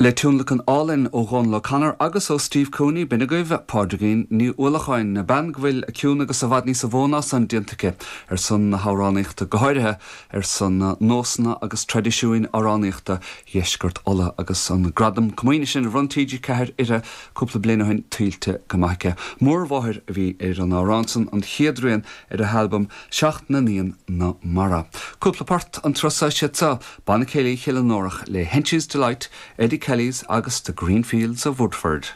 Le tionlacan álainn ó Dhónal O'Connor agus ó Steve Cooney, b'in agaibh Pádraigín Ní Uallacháin, bean go bhfuil a cion agus i bhfad níosa mhó ná san déanta aici ar son na hamhránaíochta, go háirithe ar son nósanna agus traidisiúin amhránaíochta Dheisceart Uladh agus an gradam comaoine sin a bhronn TG4 uirthi cúpla bliain ó shin tuillte go maith aici. Mórmháthair a bhí ar an amhrán san, an chéad rian ar a halbam Seacht na nIan na Mara. Cúpla port an turas seo, siad seo, Banna Céilí Chill na nÓrach le Henchys Delight, Eddie Kelly's agus The Green Fields of Woodford.